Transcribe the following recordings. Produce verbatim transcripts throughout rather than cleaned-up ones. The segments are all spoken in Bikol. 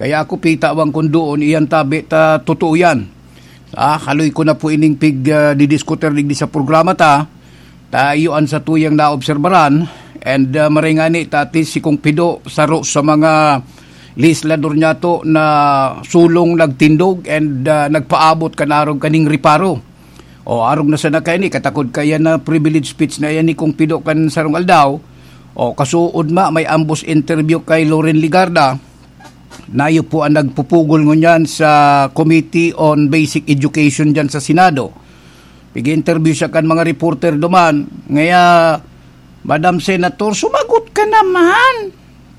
Kaya ako, pitawan kun doon, iyan tabi ta totoo yan. Ah, haloy ko na po ining pig, ah, didiskutir digdi sa programa ta. Ta iyo an satuyang naobserbaran. And, ah, maray ngani ta, at least si Kong Pido, saro sa mga legislador niyato na sulong nagtindog and, ah, nagpaabot kan arog kaning reparo. O, arog na sana kaini, katakod kaya na privilege speech na yan ni Kong Pido kan sarong aldaw. O, kasuod ma, may ambos interview kay Loren Legarda. Nayo po ang nagpupugol ngunyan sa Committee on Basic Education dyan sa Senado. Pig-interview siya kan mga reporter duman. Ngaya, "Madam Senator, sumagot ka naman!"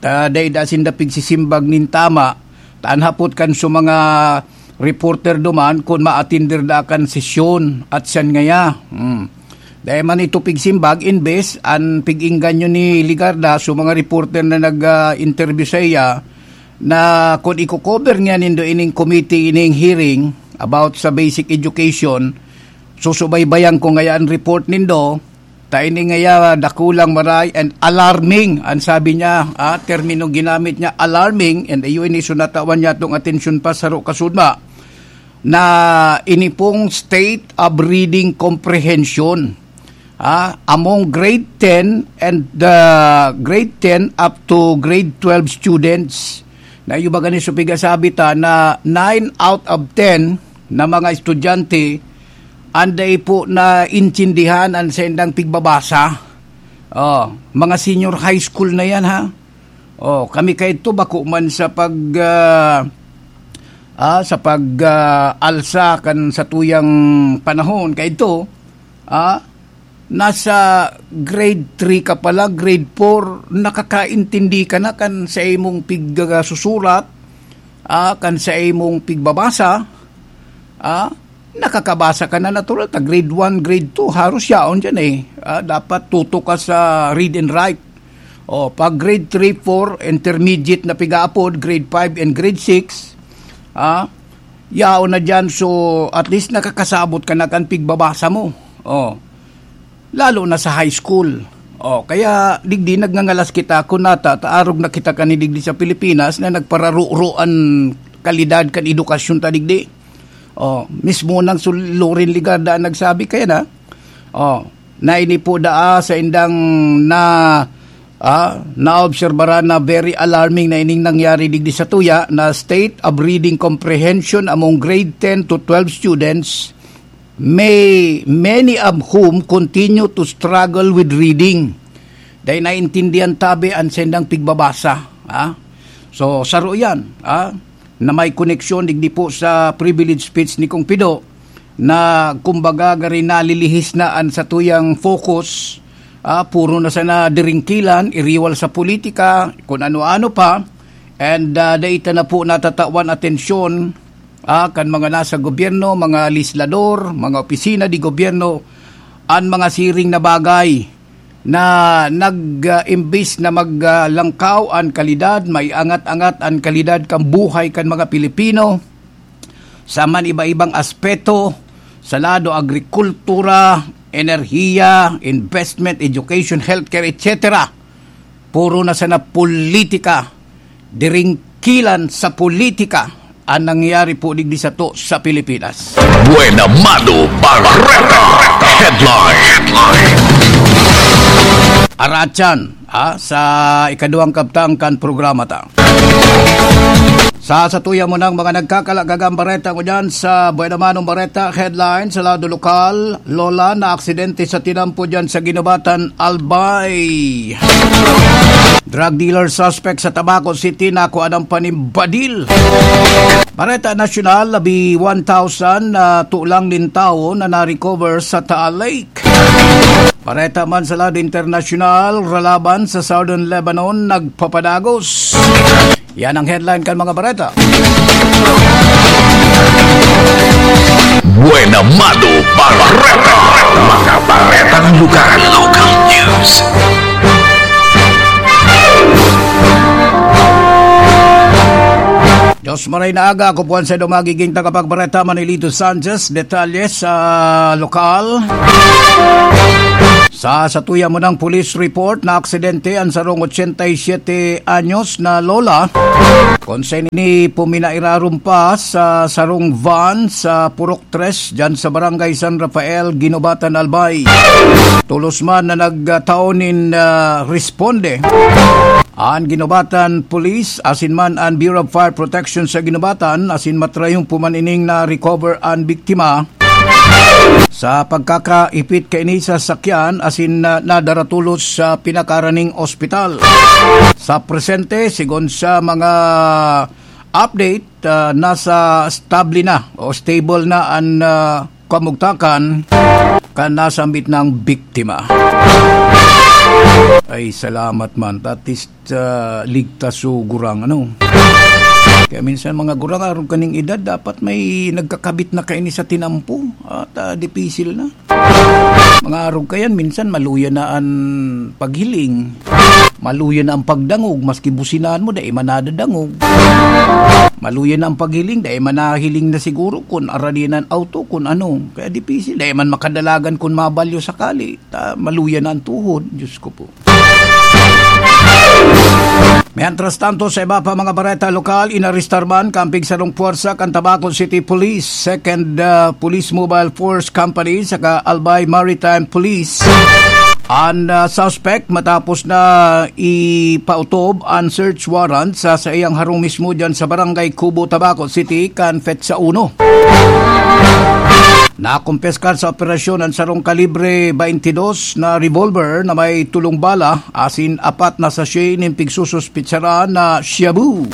Ta, dai da sinda pigsisimbag nin tama. Ta an hapot kan su mga reporter duman kun maatinder da kan sesyon at siyan ngaya. Hmm. Dai man ito pigsimbag, imbes an pig-engganyo ni Legarda su mga reporter na nag, ah, interview sa iya, na kun iko-cover niya nindo ining committee, ining hearing about sa basic education, susubaybayan ko ngaya an report nindo, ta ini ngaya dakulang maray and alarming, an sabi niya, ah, termino ginamit niya, alarming, and iyo ini su natawan niya tong atensyon pa saro kasudma, na ini pong state of reading comprehension, ah, among grade ten and, ah, grade ten up to grade twelve students, na iyo ba gani su pigasabi ta na nine out of ten na mga estudyante an dai po naintindihan an saindang pigbabasa. Oh, mga senior high school na yan, ha? Oh, kami kaidto bako man sa pag, ah, ah, sa pag, ah, alsa kan satuyang panahon kaidto, ah, nasa grade three ka pa lang, grade four, nakakaintindi ka na kan sa imong pigsusurat, ah, kan sa imong pigbabasa, ah, nakakabasa ka na natural. Ta grade one, grade two, haros yaon dyan eh. Ah, dapat tuto ka sa read and write. O, pag grade three, four, intermediate na pigaapod, grade five and grade six, ah, yaon na dyan. So, at least nakakasabot ka na kan pigbabasa mo. O, lalo na sa high school. O, kaya digdi nagngangalas kita kun nata, ta arog na kita kani digdi sa Pilipinas na nagpararuro an kalidad kan edukasyon ta digdi. O, mismo nang sul-, Loren Legarda ang nagsabi kaya na. O, na ini po daa sa indang na, ah, naobserbaran na very alarming na ining nangyari digdi sa tuya na state of reading comprehension among grade ten to twelve students, may many of whom continue to struggle with reading. Dai naintindihan tabi an sendang pigbabasa, ah. So, saro yan, ah, na may koneksyon digdi po sa privilege speech ni Kong Pido, na kumbaga gari nalilihis na an satuyang focus, ah, puro na sana diringkilan, iriwal sa politika, kun ano-ano pa, and, ah, dai ta na po natatawan atensyon, ah, kan mga nasa gobyerno, mga legislador, mga opisina de gobyerno, an mga siring na bagay na nag, ah, imbis na mag, ah, langkaw an kalidad, maiangat-angat an kalidad kan buhay kan mga Pilipino sa man iba-ibang aspeto, sa lado agrikultura, enerhiya, investment, education, healthcare, et cetera. Puro na sana politika, diringkilan sa politika an nangyayari po digdi sato sa Pilipinas. Buena Mano Barreta Headline. Aratyan, ha, sa ikaduhang kabtang kan programa ta. Sa satuya mo nang mga nagkakalagagang bareta ko dyan sa Buena Mano Barreta Headline sa lado lokal, Lola, naaksidente sa tinampo dyan sa Guinobatan, Albay. Drug dealer suspect sa Tabaco City, nakuha ng panimbadil. Bareta Nasyonal, labi one thousand na tulang nin tawo na na-recover sa Taal Lake. Bareta man sa lado internasyonal, ralaban sa Southern Lebanon nagpapadagos. Yan ang headline kan mga bareta. Buena Mano Barreta. Mga baretang lugar. Local news. Diyos maray na aga, ako po ang sa magiging tagapagbareta, Manilito Sanchez. Detalye sa lokal. Sa satuya mo ng police report, na aksidente ang sarong ochenta y siete anyos na lola, kung sa ini puminairarom pa sa sarong van sa Purok Tres, dyan sa Barangay San Rafael, Guinobatan, Albay. Tulos man na nagtao nin, ah, responde. An Guinobatan Police, asin man an Bureau of Fire Protection sa Guinobatan, asin matrayon po man ining na-recover an biktima. Sa pagkakaipit kaini sa sakyan, asin na, nadara tolos sa pinakaraning ospital. Sa presente, sigon sa mga update, ah, nasa stable na o stable na an, ah, kamugtakan kan nasambit na biktima. Ay, salamat man. At least, ah, ligtas so gurang, ano. Kaya minsan, mga gurang, arog kaning edad, dapat may nagkakabit na kaini sa tinampo. At, ah, dipisil na. Mga arog kayan, minsan maluya na an paghiling. Maluya na ang pagdangog, maski businahan mo, dai man nadadangog. Maluya na ang paghiling, dai man nahiling na siguro kun arani na an auto, kun ano. Kaya dipisil, dai man makadalagan kun mabalyo sakali. Ta, maluya na ang tuhod, Diyos ko po. Mientras tanto, sa iba pa mga bareta lokal, inarestar man kan pigsarong puwersa kan Tabaco City Police, Second, ah, Police Mobile Force Company, saka Albay Maritime Police, an, ah, suspect matapos na ipautob an search warrant sa saiyang harong mismo dyan sa Barangay Cubo, Tabaco City, kan petsa uno. Nakumpiskar sa operasyon an sarong kalibre twenty-two na revolver na may tolong bala asin apat na sachet nin pigsususpitsaran na shabu.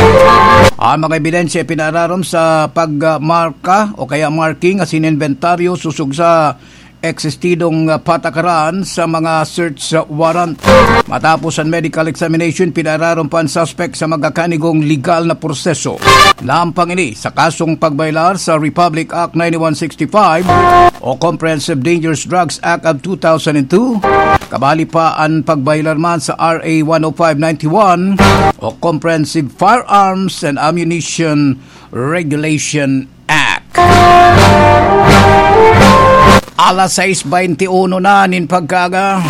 Ang mga ebidensya ipinaararom sa pagmarka o kaya marking asin inventaryo sosog sa eksistidong patakaran sa mga search warrant. Matapos ang medical examination, pinaararom pa ang suspect sa magkakanigong legal na proseso. Lampang ini sa kasong pagbayolar sa Republic Act ninety-one sixty-five o Comprehensive Dangerous Drugs Act of two thousand two, kabali pa ang pagbayolar man sa R A one oh five ninety-one o Comprehensive Firearms and Ammunition Regulation Act. Alas sais bente uno na nin pagkaaga.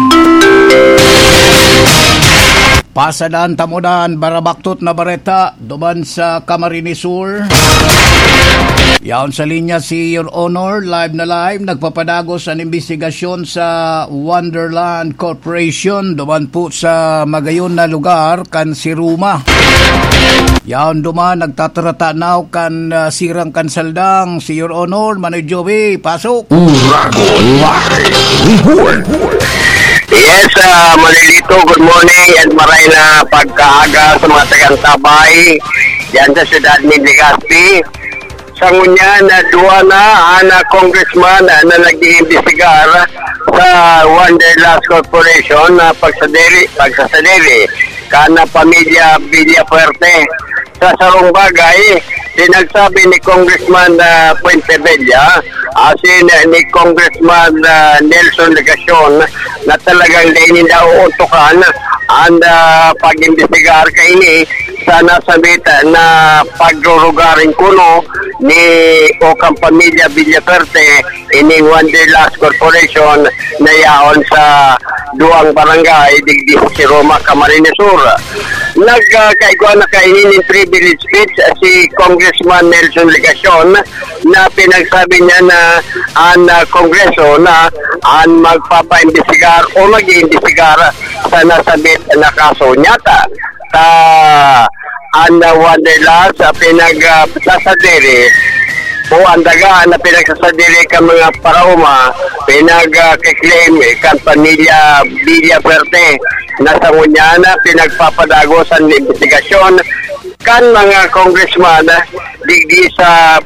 Pasadan ta mo dan barabaktot na bareta duman sa Camarines Sur. Yaon sa linya si Your Honor, live na live, nagpapadagos an imbestigasyon sa Wonderland Corporation duman po sa magayon na lugar kan Siruma. Yaon duman, nagtatarata now kan, ah, sirang kan saldang, si Your Honor, Manoy Joey, pasok. Uragon Live Report. Yes, ah, Manolito, good morning and maray na pagkaaga sa mga tagang Tabay, diyan sa siyudad ni Legazpi. Sa ngunyan, ah, duwa na an, ah, congressman, ah, na nag-iimbestigar sa Wanderlust Corporation na pagsadiri, pagsasadiri kan, ah, pamilya Villafuerte. Sa sarong bagay, pinagsabi ni Congressman, ah, Fuentebella, asin ni Congressman, ah, Nelson Legacion na talagang dai ninda uuntukan an, ah, pag-imbestigar kaini sa nasambit na pagrurugaring kuno ni o kan pamilya Villafuerte ining Wanderlust Corporation na yaon sa duwang barangay digdi sa Siruma, Camarines Sur. Nag, ah, kaigwa na kaini nin privilege speech si Congressman Nelson Legacion na pinagsabi niya na an, ah, Kongreso na an magpapaimbestigar o mag-iimbestigar sa nasambit na kaso. Nyata, ta, an, ah, Wanderlust, ah, pinag, ah, sasadiri o an daga na pinagsasadiri kan mga paraoma, pinag, ah, kiklaim kan pamilya Villafuerte na sa ngunyan na pinagpapadagos an imbestigasyon kan mga congressman digdi sa,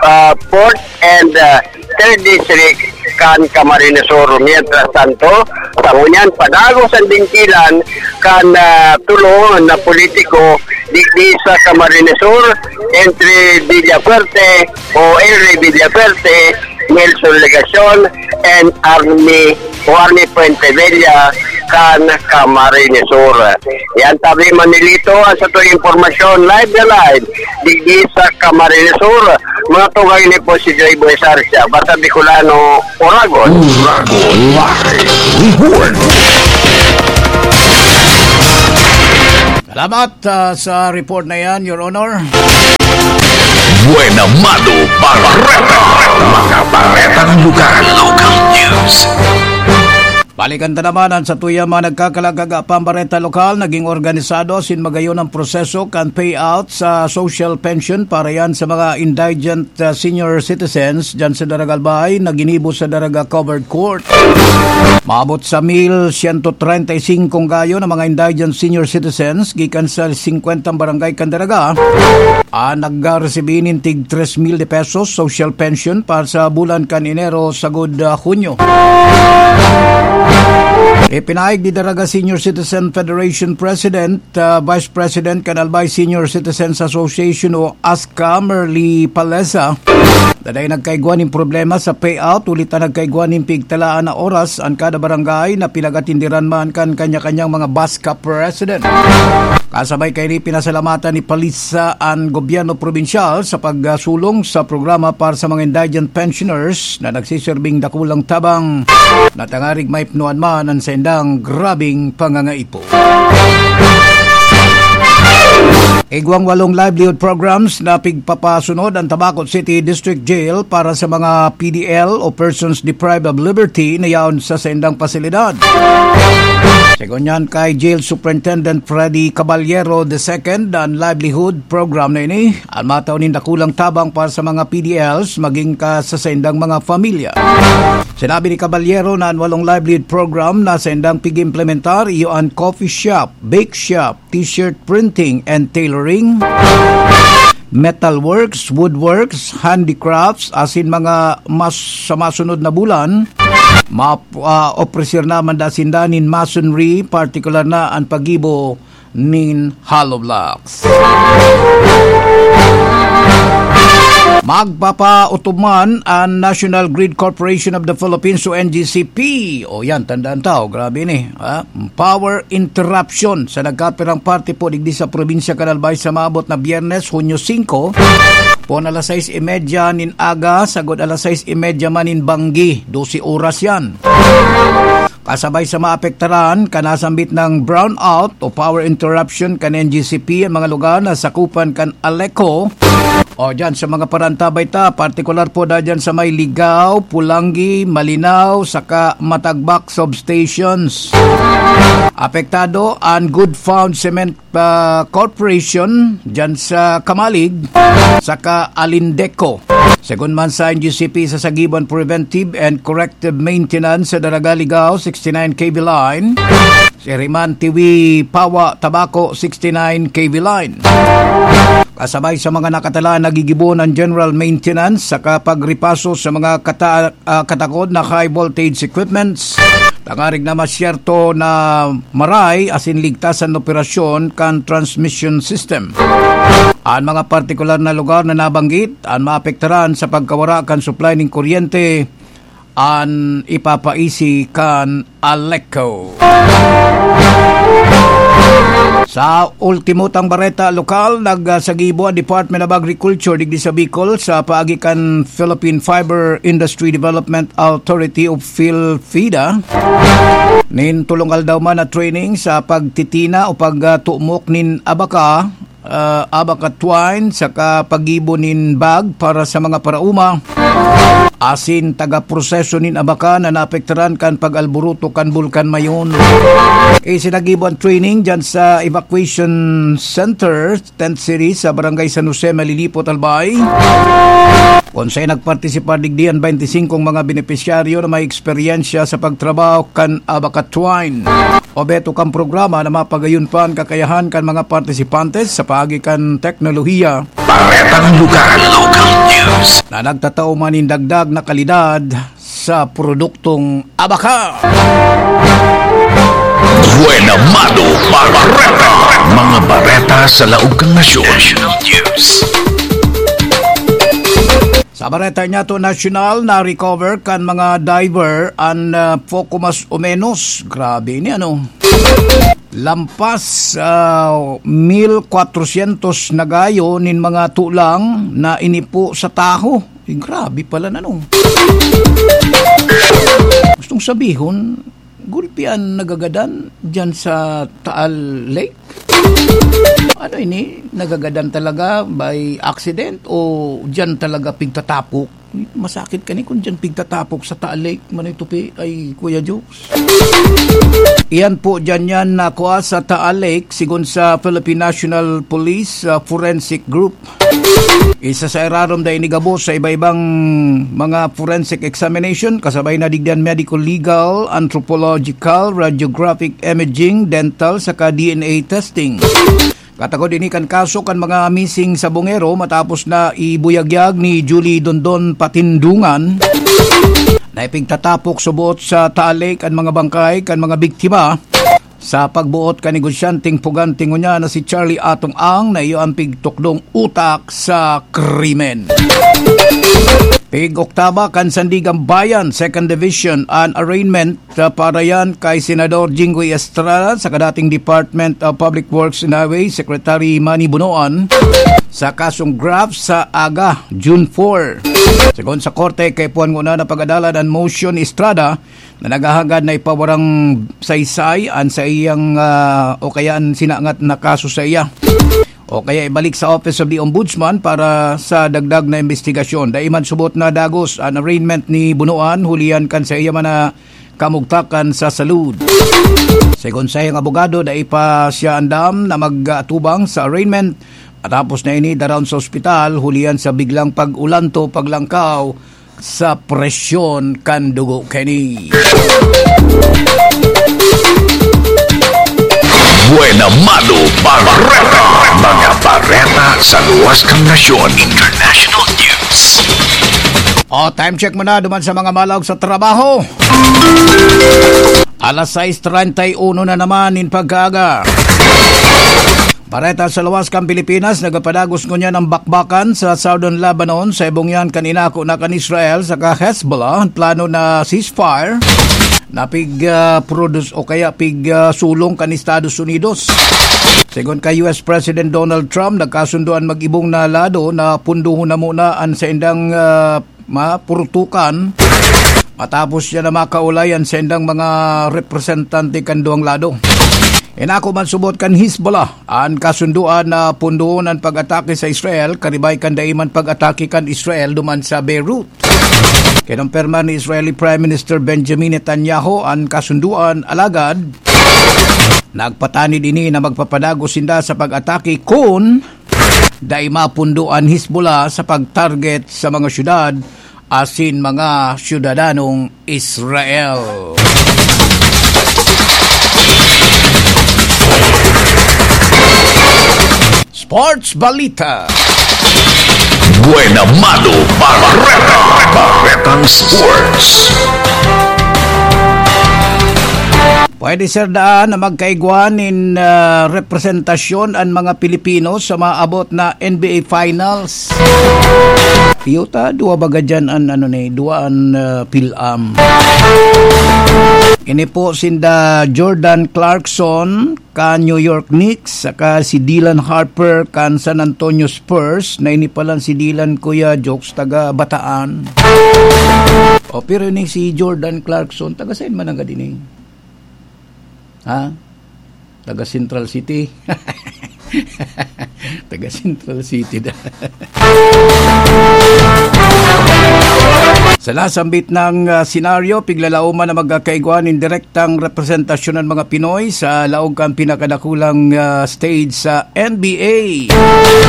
ah, fourth and, ah, third District kan Camarines Sur. Mientras tanto, sa ngunyan, padagos an dingkilan kan, ah, tulo na politiko digdi sa Camarines Sur, entre Villafuerte o Elry Villafuerte, Nelson Legacion, and Army o Army Fuentebella, kan Camarines Sur. Yan, tabi Manilito, ang sa tuwing impormasyon, live na live, digdi sa Camarines Sur. Mga tungay ni po si Joy Boy Sarsia, basta Bicolano, Oragon. Oragon Live Report. Salamat, ah, sa report na yan, Your Honor. Buena Mano Bareta. Mga baretang lugar. Local news. Balikan ta naman an satuya mga nagkakalagkaga pang bareta lokal. Naging organisado asin magayon ang proseso kan payout sa social pension para yan sa mga indigent, ah, senior citizens dyan sa Daraga Albay na ginibo sa Daraga Covered Court. Maabot sa mil siyento treinta y singko gayon ang mga indigent senior citizens gikan sa singkwentang barangay kan Daraga an nagresibi nin tig tres mil de pesos social pension para sa bulan kan Enero sagod, ah, Hunyo. Ipinahayag ni Daraga Senior Citizen Federation President, ah, Vice President kan Albay Senior Citizens Association o ASCA, Merly Palesa, na dai nagkaigwa nin problema sa payout, huli ta nagkaigwa nin pigtalaan na oras an kada barangay na pinag-atindiran man kan kanya-kanyang mga BASCA president. Kasabay kaini, pinasalamatan ni Palisa an gobyerno probinsyal sa pagsulong sa programa para sa mga indigent pensioners na nagsiserbing dakulang tabang na tangarig maipnoan man an saindang grabing pangangaipo. Igwang walong livelihood programs na pigpapasunod ang Tabaco City District Jail para sa mga P D L o persons deprived of liberty na yaon sa saindang pasilidad. Segun yan kay Jail Superintendent Freddy Caballero the second, an livelihood program na ini an matao nin dakulang tabang para sa mga P D Ls maging ka sa saindang mga pamilya. Sinabi ni Caballero na an walong livelihood program na saindang pig-implementar iyo an coffee shop, bake shop, t-shirt printing and tailoring, metalworks, woodworks, handicrafts, asin mga mas sa masunod na bulan, ma-, ah, opresir naman da sinda nin masonry, partikular na an paggibo nin hollow blocks. Magpapautob man an National Grid Corporation of the Philippines o N G C P. O yan, tandaan ta, o, grabe ni, ha? Power interruption sa nagkapirang parte po digdi sa probinsya kan Albay sa maabot na Biyernes, Hunyo singko, pon alas sais y media nin aga, sagod alas sais y media man nin banggi, dose oras yan. Kasabay sa maapektaran, kanasambit ng brownout o power interruption kan N G C P ang mga lugar na sakupan kan ALECO o dyan sa mga parantabay ta, partikular po da dyan sa may Ligao, Pulangi, Malinao, saka Matagbak substations. Apektado ang Good Found Cement ah, Corporation dyan sa Camalig, saka Alindeco. Segun man sa N G C P, sasagibo an preventive and corrective maintenance sa Daraga Ligao sixty-nine K V line, Siriman Tiwi Pawa Tabaco sixty-nine K V line. Kasabay sa mga nakatalaan, nagigibo an general maintenance saka pagripaso sa mga kata-, ah, katakod na high voltage equipments. Tangarig na masyerto na maray asin ligtas an operasyon kan transmission system. An mga partikular na lugar na nabanggit an maapektaran sa pagkawara kan supply nin kuryente, an ipapaisi kan ALECO. Sa ultimo tang bareta lokal, nagsagibo an Department of Agriculture digdi sa Bicol sa paagi kan Philippine Fiber Industry Development Authority o PhilFIDA nin tolong aldaw man na training sa pagtitina o pagtumok nin abaka, ah, abaka twine, saka paggibo nin bag para sa mga parauma asin taga-proseso nin abaka na naapektaran kan pag-alboroto kan Bulkan Mayon. Isinagibo an training dyan sa evacuation center, tent city, sa Barangay San Jose, Malilipot, Albay, kun saen nagpartisipar digdi an baynti singkong mga benepisyaryo na may eksperyensya sa pagtrabaho kan abaka twine. Obheto kan programa na mapagayon pa an kakayahan kan mga partisipantes sa paagi kan teknolohiya Baretang lugar, local news, na nagtatao man nin dagdag na kalidad sa produktong abaka. Buena Mano Bareta. Mga bareta sa laog kan nasyon. National news. Sa Bareta niya to nasyonal na recover kan mga diver an, ah, poko mas o menos. Grabe ni ano. Lampas, ah, mil kwatrosyentos na gayo nin mga tulang na inipo sa taho. Eh, grabe pala na, no? Gustong sabihon, gulpi an nagagadan diyan sa Taal Lake? Ano ini? Nagagadan talaga by accident o diyan talaga pigtatapok? Masakit kani kung diyan pigtatapok sa Taal Lake, Manoy Tupi, ay Kuya Jokes. Iyan po, diyan yan nakuha sa Taal Lake, sigon sa Philippine National Police, ah, Forensic Group. Isa sa irarom dai ni gabos sa iba-ibang mga forensic examination, kasabay na digdi an medical, legal, anthropological, radiographic imaging, dental, saka D N A testing. Katakod ini kan kaso kan mga missing sa Bungero matapos na ibuyagyag ni Julie Dondon Patindungan na ipigtatapok subot sa Taal Lake an mga bangkay kan mga biktima. Sa pagboot kan negosyanteng puganti ngunyan na si Charlie Atong Ang na iyo ang pigtukdong utak sa krimen. Pig-oktaba kan Sandigan Bayan, Second Division, an arraignment, ah, para yan kay Senador Jinggoy Estrada sa kadating Department of Public Works and Highways Secretary Manny Bonoan sa kasong graft sa aga, June four. Segun sa korte, kaipuhan nguna na pag-adalan an motion ni Estrada na naghahangad na ipawarang saysay an saiyang, ah, o kaya an sinangat na kaso sa iya, o kaya ibalik sa Office of the Ombudsman para sa dagdag na imbestigasyon. Dai man subot na dagos an arraignment ni Bunuan, hulihan kan saiya man na kamugtakan sa salud. Segun sa iyang abogado, dai pa siya andam na mag-atubang sa arraignment. Matapos na ini, daraon sa ospital, hulihan sa biglang pag-ulanto, paglangkaw sa presyon kan dugo kini. Buena Mano Bareta. Mga bareta sa luwas kan nasyon. International news. O, time check muna duman sa mga malaog sa trabaho. Alas sais treinta y uno na naman nin pagkaaga. Bareta sa luwas kan Pilipinas, nagapadagos ngunyan an bakbakan sa Southern Lebanon, sa ibong yan kan inako na kan Israel saka Hezbollah, an plano na ceasefire na pig, ah, produce o kaya pig, ah, sulong kan Estados Unidos. Segun kay U S President Donald Trump, nagkasundo an mag-ibong na lado na pundohon na muna an saindang, ah, mapurutukan matapos siya na makaulay an saindang mga representante kan duwang lado. Inako man subot kan Hezbollah an kasundoan na pundoon an pag-atake sa Israel, karibay kan dai man pag-atake kan Israel duman sa Beirut. Kinumpirma ni Israeli Prime Minister Benjamin Netanyahu an kasundoan, alagad nagpatanid ini na magpapadagos sinda sa pag-atake kun dai mapundo an Hezbollah sa pag-target sa mga syudad asin mga syudadanong Israel. Sports Balita. Buena Mano Bareta. Baretang Sports. Pwede, sir, daan na magkaigwa nin, ah, representasyon an mga Pilipino sa maabot na N B A Finals. Iyo ta, duwa baga dyan an, ano ni, duwa an, ah, PhilAm. Ini po sinda Jordan Clarkson kan New York Knicks, saka si Dylan Harper kan San Antonio Spurs, na ini palan si Dylan, Kuya Jokes, taga Bataan. O, pero ini si Jordan Clarkson, taga saan man ang gadini? Ha? Taga Central City. Taga Central City da. Sa nasambit na, ah, senaryo, piglalaoman na magkakaigwa nin direktang representasyon ng mga Pinoy sa laog kan pinakadakulang, ah, stage sa N B A.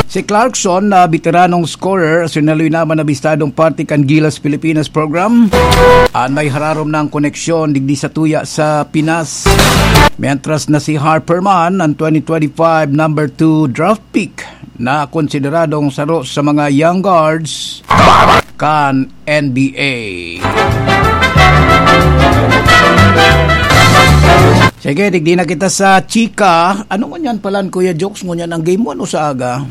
Si Clarkson, na veteranong scorer, asin haloy naman na bistadong parte kan Gilas Pilipinas program, an may hararom na ang koneksyon digdi sa tuya sa Pinas. Mientras na si Harper man, ang twenty twenty-five number two draft pick na konsideradong saro sa mga young guards kan N B A. Sige, digdi na kita sa chika. Ano ngunyan palan, Kuya Jokes, ngunyan ang game one o sa aga?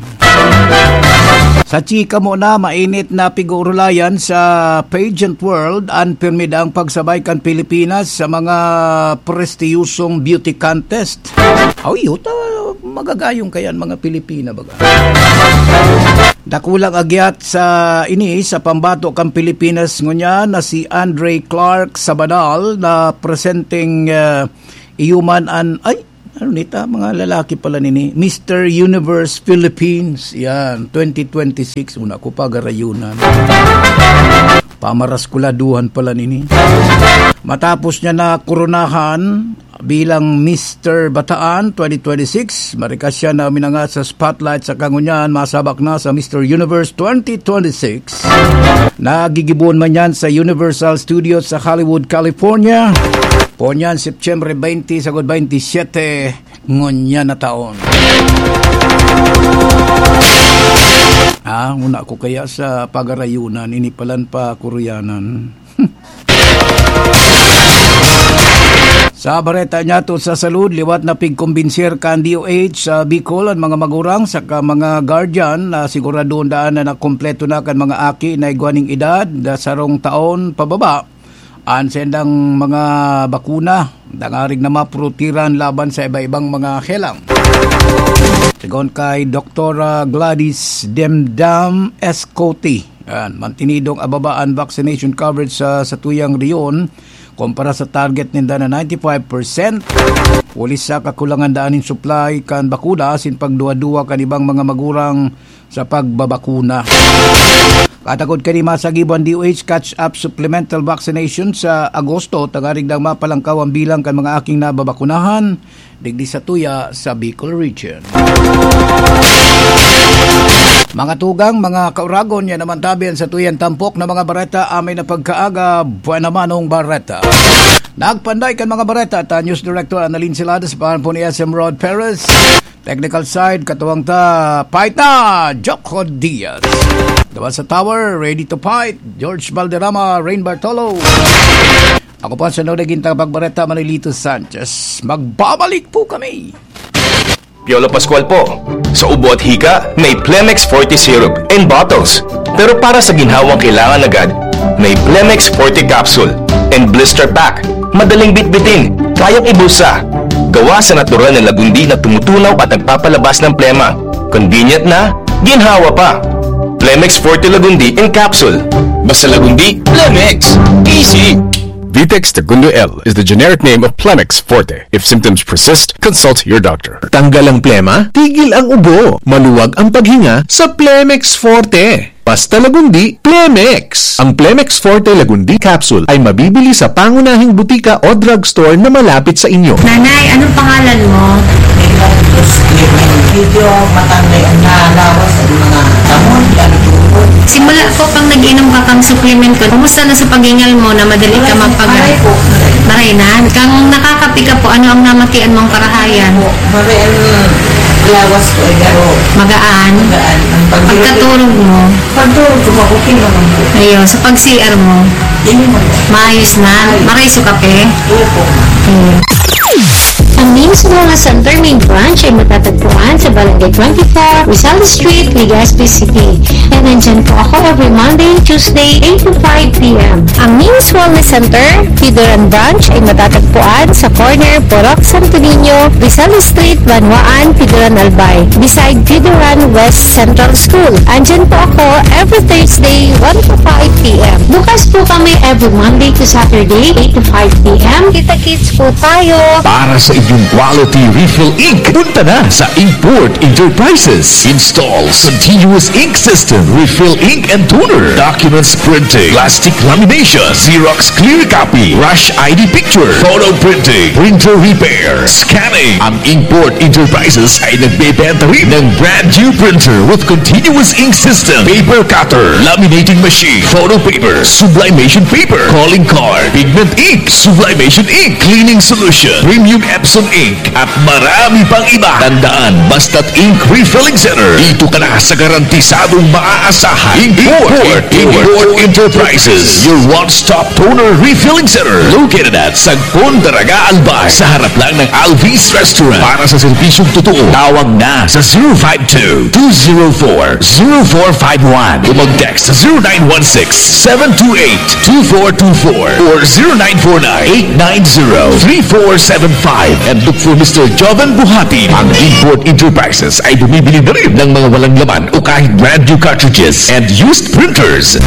Sa chika mo na, mainit na pig-uurulayan sa pageant world an pirmi daang pagsabay kan Pilipinas sa mga prestiyosong beauty contest. Aw, yuta, magagayong kayan mga Pilipina, baga. Dakulang agyat sa ini sa pambato kan Pilipinas ngunyan na si Andre Clark Sabadal na presenteng, ah, iyo man an, ay, ano nita, mga lalaki pala nini, Mister Universe Philippines, yan, twenty twenty-six, una ko pa garayunan. Pamaraskuladuhan pala nini. Matapos niya na koronahan bilang Mister Bataan twenty twenty-six, marikas siya na uminangat sa spotlight sa kangunyan, masabak na sa Mister Universe twenty twenty-six. Nagigibohon man yan sa Universal Studios sa Hollywood, California. Ponyan, Setyembre twenty, sagod twenty-seven, ngunyan na taon. Ah, una ko kaya sa pagarayunan, ini palan pa kuruyanan. Sa bareta niya to sa salud, liwat na pigkumbinser kan D O H sa Bicol an mga magurang saka mga guardian na siguradon daan na nakompleto na kan mga aki na igwa ning edad na sarong taon pababa. An sendang mga bakuna, dangarig na mapurutiran laban sa iba-ibang mga helang. Sigon kay Doktora Gladys Demdam Escote, yan, mantinidong ababa an vaccination coverage sa, sa tuyang rehiyon kumpara sa target ninda na ninety-five percent. Huli sa kakulangan daan nin supply kan bakuna asin pagduwa-duwa kan ibang mga magurang sa pagbabakuna. Katakod kani masagibo an D O H catch-up supplemental vaccination sa Agosto, tangarig dang mapalangkaw ang bilang kan mga aking nababakunahan digdi sa tuya sa Bicol Region. Mga tugang, mga kauragon, yan naman tabi an sa tuyang tampok na mga bareta, amay na pagkaaga, buwan naman ang bareta. Nagpanday kan mga bareta, ta News Director Annalyn Celada sa pangalan po ni S M Rod Perez. Technical side, katuwang ta, fight na, Jocko Diaz. Gawa sa tower, ready to fight, George Valderrama, Rain Bartolo. Ako po ang sunod na gintang pagbareta, Manolito Sanchez. Magbabalik po kami. Piolo Pascual po. Sa ubo at hika, may Plemex Forte Syrup in bottles. Pero para sa ginhawang kailangan agad, may Plemex Forte Capsule and Blister Pack. Madaling bitbitin, kayang ibulsa. Gawa sa natural na lagundi na tumutunaw at nagpapalabas ng plema. Convenient na, ginhawa pa. Plemex Forte Lagundi in Capsule. Basta Lagundi, Plemex. Easy! Vitex Tagundo L is the generic name of Plemex Forte. If symptoms persist, consult your doctor. Tanggal ang plema, tigil ang ubo, maluwag ang paghinga sa Plemex Forte. Basta Lagundi, Plemex. Ang Plemex Forte Lagundi Capsule ay mabibili sa pangunahing butika o drugstore na malapit sa inyo. Nanay, anong pangalan mo? Medyo matangay ang lawas, ang mga tamon, ang tuhod. Simula po pang nag-inom ka kang supplement ko, kumusta na sa paghingal mo na madali ka Maray, mapaga-, maray po. Maray na. Kang nakakape ka po, ano ang namatian mong karahayan? Maray ang lawas ko, eh, pero Magaan. Magaan. Ang pagdurog. Pagkaturog mo? Pagdurog ko, okay naman po. Ayun, sa pag-C R mo? Hindi naman po. Maayos na? Maray sa kape? Opo. Hmm. Ang Mims Wellness Center main branch ay matatagpuan sa Barangay twenty-four, Rizal Street, Legazpi City. And nandyan po ako every Monday, Tuesday, eight to five p m. Ang Mims Wellness Center, Pidoran Branch, ay matatagpuan sa corner Purok Santo Niño, Rizal Street, Banwaan, Pidoran Albay, beside Pidoran West Central School. Andyan po ako every Thursday, one to five p m. Bukas po kami every Monday to Saturday, eight to five p m. Kita-kits po tayo. Para sa inyong quality refill ink, punta na sa Inkport Enterprises. Installs continuous ink system, refill ink and toner, documents printing, plastic lamination, Xerox clear copy, rush I D picture, photo printing, printer repair, scanning. Ang Inkport Enterprises ay nagbebenta rin ng brand new printer with continuous ink system, paper cutter, laminating machine, photo paper, sublimation paper, calling card, pigment ink, sublimation ink, cleaning solution, premium Epsom Ink, at marami pang iba. Tandaan, basta't Ink Refilling Center, dito ka na sa garantisadong maaasahan. Import, Import, Import Enterprises, your one-stop toner refilling center. Located at Sagpon, Daraga, Albay, sa harap lang ng Alvis Restaurant. Para sa serbisyong totoo, tawag na sa zero five two, two zero four, zero four five one. O mag-text sa zero nine one six, seven two eight, two four two four or zero nine four nine, eight nine zero, three four seven five. And look for Mister Joven Buhati. Ang Import Enterprises ay bumibili na rin ng mga walang laman o kahit brand new cartridges and used printers.